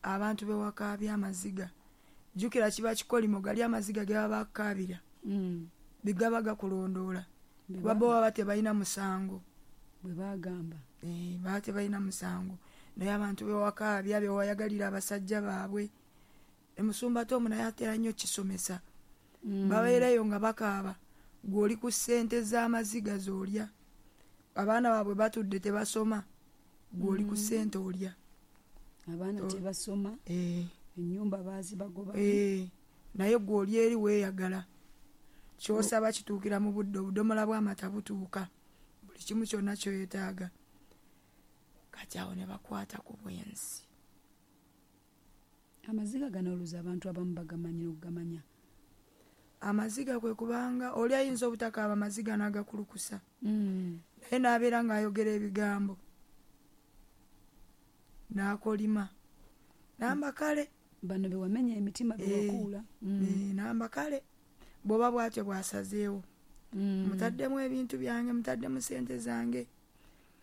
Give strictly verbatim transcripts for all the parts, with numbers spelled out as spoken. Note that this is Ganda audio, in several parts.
Abantu bewakaabya amaziga, jjukira kiba kikolimo, gali amaziga ge baba bakaabira Mm. bigaba gakulondoola, Bwe kuba bo baba tebalina musango. Bwe bagamba. Eh, baba tebalina musango, naye abantu bewakaabya bewayagalira abasajja baabwe. Emusumba Tomu naye atera nnyo kisomesa. Mm. Babeerayo nga bakaaba, gw'oli ku ssente z'amaziga z'olya, abaana baabwe batudde tebasoma, gw'oli ku ssente olya. Abaana To- tebasoma, Eh. ennyumba baazibagoba. Eh, naye gw'oli eri weeyagala, ky'osaba kituukira mu budde, obudomola bw'amata butuuka, buli kimu kyonna kyoyetaaga. Kati awo ne bakwata ku bwenzi. Amaziga gano oluusi abantu abamu bagamanyi n'okugamanya. Amaziga kwe kubanga oli ayinza obutakaaba amaziga n'agakulukusa, Mm. naye n'abeera ng'ayogera ebigambo n'akolima namba kale. Bano be wamenya emitima, Eh, bewakuula. Mm. eh, namba kale bw'oba bw'atyo bw'asazeewo, Mm. mutaddemu ebintu byange, mutaddemu sente zange,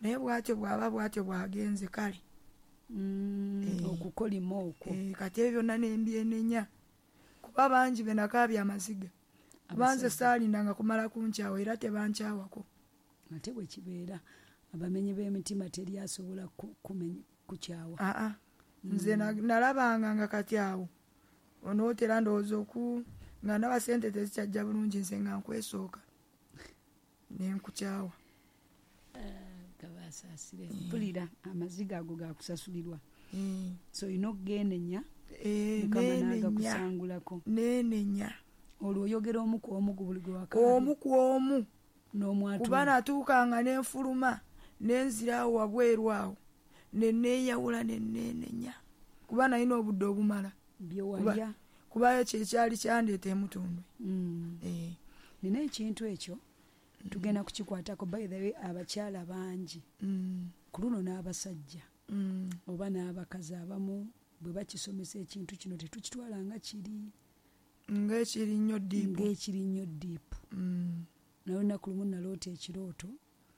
naye bw'atyo bw'aba bw'atyo bw'agenze kale. Mm. Eh. Okukolima okwo. Eh, kati ebyo byonna nembyenenya, kuba bangi be nakaabya amaziga, kuba nze Abasajja. saalindanga kumala kunkyawa, era tebankyawako. Ate bwe kibeera, abamenyi b'emitima teri asobola ku-, kumenya-, kukyawa. Aa, nze na-, nalabanga nga kati awo onootera ndowooza oku nga ndaba sente tezikyajja bulungi, nze nga nkwesooka ne nkukyawa. Gabasaasire. Eh. Mpulira amaziga ago gakusasulirwa. Eh. So olina okugenenya, Eh, Mukama nenenya. n'agakusangulako. Nenenya. Olwo oyogera omu ku omu ku buli gwe wakaabya. Omu ku omu. N'omwatula. Kuba natuukanga ne nfuluma, ne nzira awo wabweru awo, ne neeyawula ne neenenya. Kuba nalina obudde obumala. Bye walya. Kuba, kubayo kye kyali kyandeeta emutundwe. Mm. Eh. Nina ekintu ekyo tugenda kukikwatako. By the way, abakyala bangi Mm. ku luno n'abasajja Mm. oba n'abakazi abamu bwe bakisomesa ekintu kino tetukitwala nga kiri ng'ekiri nnyo deep. Ng'ekiri nnyo deep. Mm. Naye olunaku lumu naloota ekirooto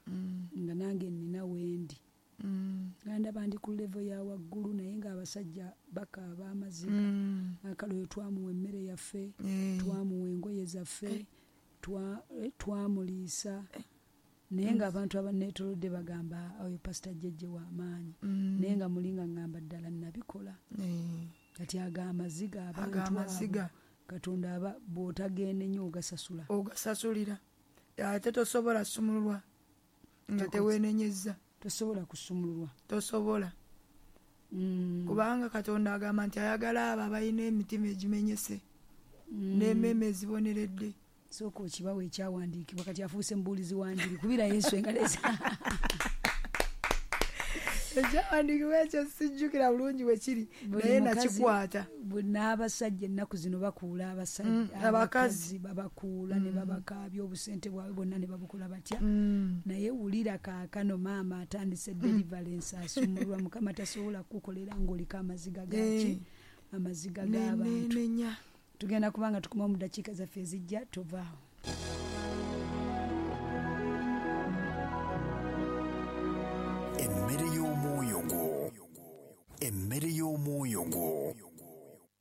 Mm. nga nange nnina wendi. Mm. Nga ndaba ndi ku level ya waggulu, naye ng'abasajja bakaaba amaziga. Mm. Akalo oyo twamuwa emmere yaffe, Eh. twamuwa engoye zaffe, Eh. twa-, eh, twamuliisa. Eh. Naye ng'abantu abanneetoolodde bagamba oyo Pastor Jjejje w'amaanyi. Mm. Naye nga muli nga ŋŋamba ddala nnabikola. Eh. Kati ago amaziga abantu Ago amaziga. abo, Katonda aba bw'otagenda ennyo ogasasula. Ogasasulira. Ate tosobola sumululwa nga Tokoze. teweenenyezza. Tosobola kusumululwa. Tosobola. Mm. Kubanga Katonda agamba nti ayagala abo abalina emitima egimenyese Mm. n'emmeeme eziboneredde. Sooka okibawo ekyawandiikibwa, kati afuuse mubuulizi wa njiri. Kubira Yesu engalo eza- Ekyawandiikibwa ekyo sijjukira bulungi bwe kiri, Buli naye mukazi nakikwata. bwe n'abasajja ennaku zino bakuula abasajja, Mm, abakazi. abakazi babakuula ne Mm. babakaabya obusente bwabwe bwonna ne babukola batya. Mm. Naye wulira kaakano maama atandise Mm. deliverance, asumulwa. Mukama tasobola kukukolera ng'oliko amaziga gaaki? Eh. Amaziga Ne, g'abantu. ne, nenya. Tugenda kubanga tukoma mu ddakiika zaffe ezijja, tovaawo. Emmere y'omwoyo gwo. Emmere y'omwoyo gwo.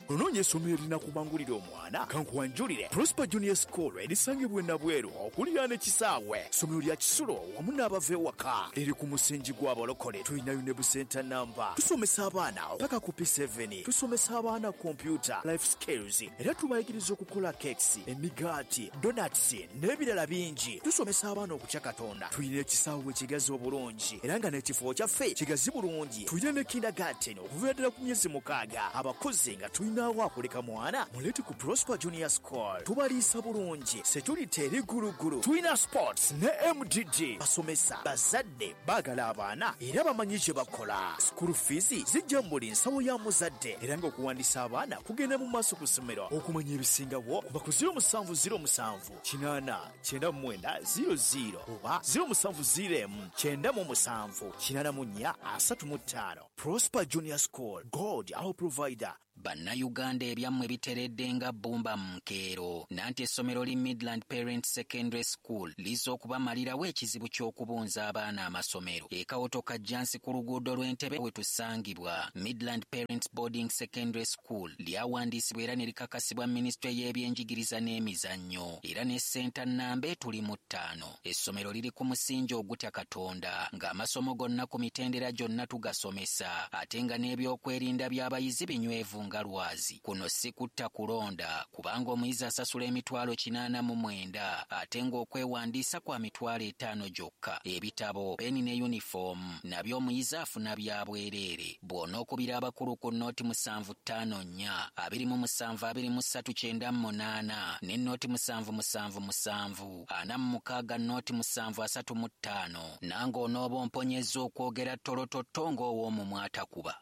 Onoonya essomero erinakubangulira omwana? Kankuwanjulire Prosper Junior School erisangibwa e Nabweru okuliraana ekisaawe. Ssomero lya kisulo wamu n'abava ewaka, liri ku musingi gw'abalokole. Tulinayo ne busenta namba. Tusomesa abaana paka ku P seven. Tusomesa abaana computer, life skills, era tubayigiriza okukola cakes, emigaati, donuts n'ebirala bingi. Tusomesa abaana okutya Katonda. Tulina ekisaawe ekigazi obulungi era nga n'ekifo kyaffe kigazi bulungi. Tulina ne kindergarten okuviira ddala ku myezi mukaaga. Abakozi nga tulina awo akuleka mwana, muleete ku Prosper Junior School. Tubaliisa bulungi, security eri gulugulu. Tulina sports ne M D D. Basomesa, bazadde baagala abaana era bamanyi kye bakola. School fees zijja mu buli nsawo ya muzadde, era ng'okuwandiisa abaana kugenda mu maaso ku ssomero. Okumanya ebisingawo kuba ku zero musanvu zero musanvu kinaana kyenda mu mwenda zero zero oba zero musanvu zero emu kyenda mu musanvu kinaana mu nnya asatu mu ttaano. Prosper Junior School, God our provider, Bannayuganda ebyammwe biteredde nga bbumba mu nkeero. Nanti essomero li Midland Parents Secondary School lizza okubamalirawo ekizibu ky'okubunza abaana amasomero. Ekawoto Kajjansi ku luguudo lw'Entebe we tusangibwa. Midland Parents Boarding Secondary School lyawandiisibwa era ne likakasibwa minisitule y'ebyenjigiriza n'emizannyo, era ne ssenta nnamba etuli mu ttaano. Essomero liri ku musingi ogutya Katonda, ng'amasomo gonna ku mitendera gyonna tugasomesa, ate nga n'ebyokwerinda by'abayizi binywevu nga lwazi. Kuno si kutta kulonda, kubanga omuyizi asasula emitwalo kinaana mu mwenda, ate ng'okwewandiisa kwa mitwalo etaano gyokka. Ebitabo, peni ne yunifoomu nabyo omuyizi afuna bya bwereere. Bw'onookubira abakulu ku nnooti musanvu ttaano nnya abiri mu musanvu abiri mu ssatu kyenda mu munaana ne nnooti musanvu musanvu musanvu ana mu mukaaga nnooti musanvu asatu mu ttaano, nange onooba omponyezza okwogera ttolototto ng'ow'omumwa atakuba.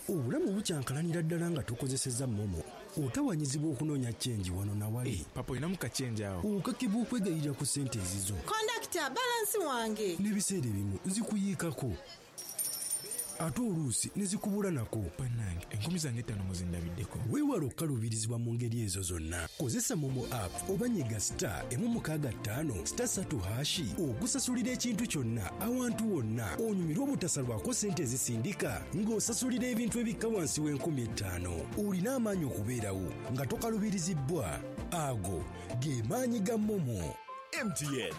Obulamu bukyankalanira ddala nga tukozesezza MoMo. Otawanyizibwa okunoonya change wano nawali. Hey, papa olinamu ka change awo. Okakibwa okwegayirira ku ssente ezizo. Kondakita, balansi wange. N'ebiseera ebimu zikuyiikako, ate oluusi ne zikubula nako. Bannange, enkumi zange ttaano muzindabiddeko. Weewale okukaluubirizibwa mu ngeri ezo zonna. Kozesa MoMo app oba nyiga star emu mukaaga ttaano star ssatu hash okusasulira ekintu kyonna awantu wonna, onyumirwe obutasalwako ssente ezisindika ng'osasulira ebintu ebikka wansi w'enkumi ettaano. Olina amaanyi okubeerawo nga tokaluubirizibbwa. Ago ge maanyi ga MoMo. M T N.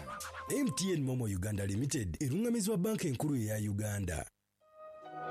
M T N MoMo Uganda Limited eruŋŋamizibwa Banka Enkulu eya Uganda.